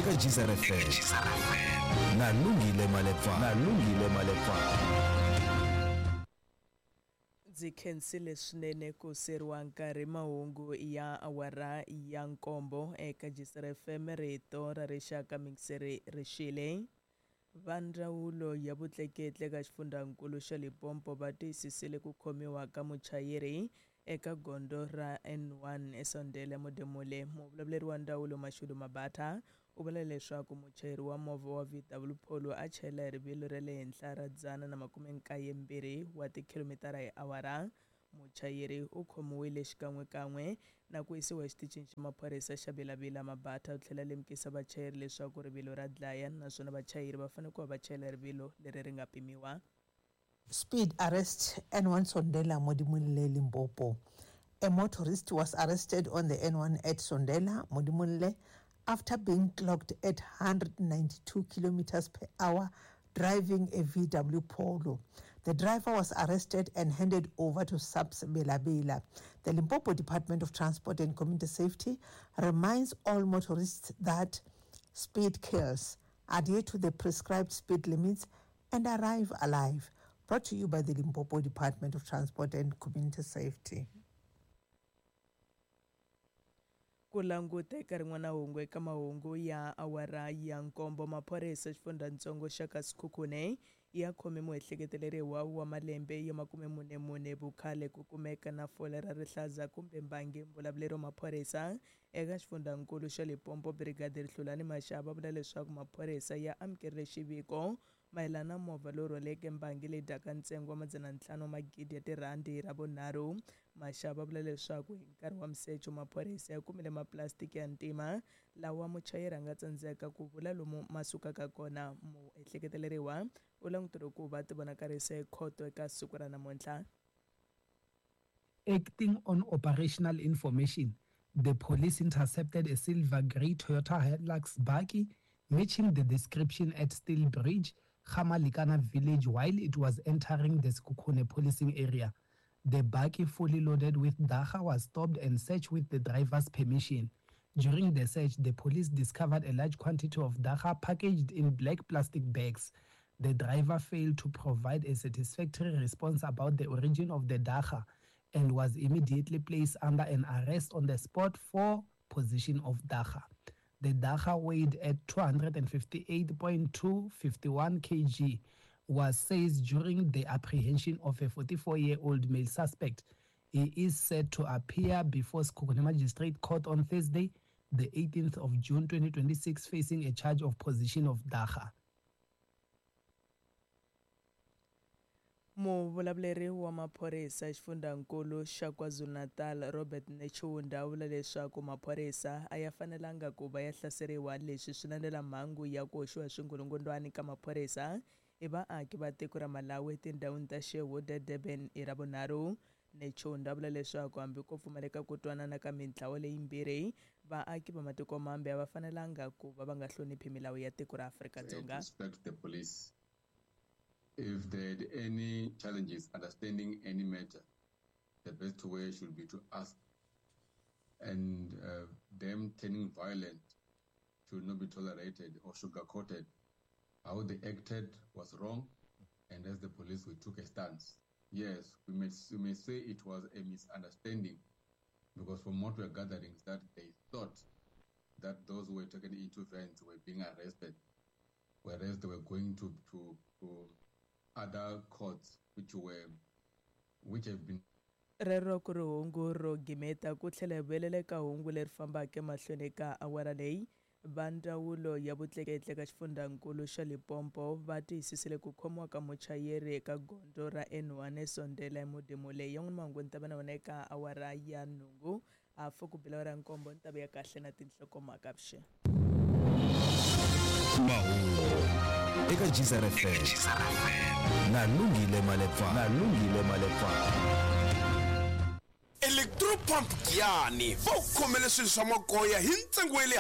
Eka Geyser FM na Lungile Malepfa na Lungile Malepfa. Ndzi khensile swinene ku seriwa nkarhi mahungu ya awara ya nkombo eka Geyser FM rito ra rixaka mingiseri rixile. Va ndzawulo ya vutleketli eka xifundzankulu xa Limpopo va tiyisisile ku khomiwa ka muchayeri eka gondzo ra N1 eSondela Modimolle. Muvulavuleri wa ndzawulo Mashudu Mabatha u vula leswaku muchayeri wa movha wa VW Polo a chayela hi rivilo ra le henhla ra 192 wa tikhilomitara hi awara. Muchayeri u khomiwile xikan'wekan'we na ku yisiwa exitichini xa maphorisa xa Bela-Bela. Mabatha u tlhela lemukisa vachayeri leswaku rivilo ra dlaya naswona vachayeri va fanele ku va va chayela rivilo leri ri nga pimiwa. Speed arrest N1 Sondela Modimolle Limpopo. A motorist was arrested on the N1 at Sondela Modimolle after being clocked at 192 kilometers per hour driving a VW Polo. The driver was arrested and handed over to SAPS Bela-Bela. The Limpopo Department of Transport and Community Safety reminds all motorists that speed kills. Adhere to the prescribed speed limits and arrive alive. Brought to you by the Limpopo Department of Transport and Community Safety. Ku languta eka rin'wana hungu eka mahungu ya awara ya nkombo maphorisa xifundzatsongo xa ka Sekhukhune ya khome muehleketeleriwa wa malembe ya 44 vukhale ku kumeka na fole ra rihlaza kumbe mbangi. Mbulavuleri wa maphorisa eka xifundzankulu xa Limpopo Brigadier Hlulani Mashaba vula leswaku maphorisa ya amukerile xiviko mayelana na movha lowu rhwaleke mbangi leyi dyaka ntsengo wa 500 magidi ya tirhandi hi Ravunharhu. Mashaba vula leswaku hi nkarhi wa misecho maphorisa ya kumile maplastiki ya ntima lawa muchayeri a nga tsandzeka ku vula lomu ma sukaka kona. Muehleketeleriwa u languteriwe ku va tivonakarisa ekhoto eka siku ra namuntlha. Acting on operational information, the police intercepted a silver grey Toyota Hilux bakkie matching the description at Steel Bridge, Gamalikana village while it was entering the Sekhukhune policing area. The bakkie, fully loaded with dagga, was stopped and searched with the driver's permission. During the search, the police discovered a large quantity of dagga packaged in black plastic bags. The driver failed to provide a satisfactory response about the origin of the dagga and was immediately placed under an arrest on the spot for possession of dagga. The dagga weighed at 258.251 kg, was seized during the apprehension of a 44-year-old male suspect. He is set to appear before Sekhukhune Magistrate Court on Thursday, the 18th of June 2026, facing a charge of possession of dagga. Muvulavuleri wa maphorisa xifundzankulu xa KwaZulu-Natal Robert Netshiunda u vula leswaku maphorisa a ya fanelanga ku va ya hlaseriwa. Leswi swi landzela mhangu ya ku hoxiwa swingulungundwani ka maphorisa hi vaaki va tiko ra Malawi etindhawini ta Sherwood eDurban hi Ravunharhu. Netshiunda vula leswaku hambi ko pfumaleka ku twanana ka mintlawa leyimbirhi, vaaki va matiko mambe a va fanelanga ku va va nga hloniphi milawu ya tiko ra Afrika-Dzonga. Respect the police. If they had any challenges understanding any matter, the best way should be to ask. And them turning violent should not be tolerated or sugar-coated. How they acted was wrong, and as the police, we took a stance. Yes, we may say it was a misunderstanding, because from what we are gathering is that they thought that those who were taken into vans were being arrested, whereas they were going to other courts which have been. Rero ku ri hungu ro gimeta ku tlhela hi vuyelela eka hungu leri fambaka emahlweni ka awara leyi. Va ndzawulo ya vutleketli ka xifundzankulu xa Limpopo va tiyisisile ku khomiwa ka muchayeri eka gondzo ra N1 eSondela eModimolle. Yan'wana mahungu ni ta va na wona eka awara ya 8 hafu ku bela awara ya 7 ni ta vuya kahle na tinhlokomhaka vuxeni. Mahungu eka Geyser FM na Lungile Malepfa na Lungile Malepfa. Electro Pump Giyani va ku khomele swilo swa magoya hi ntsengo wa le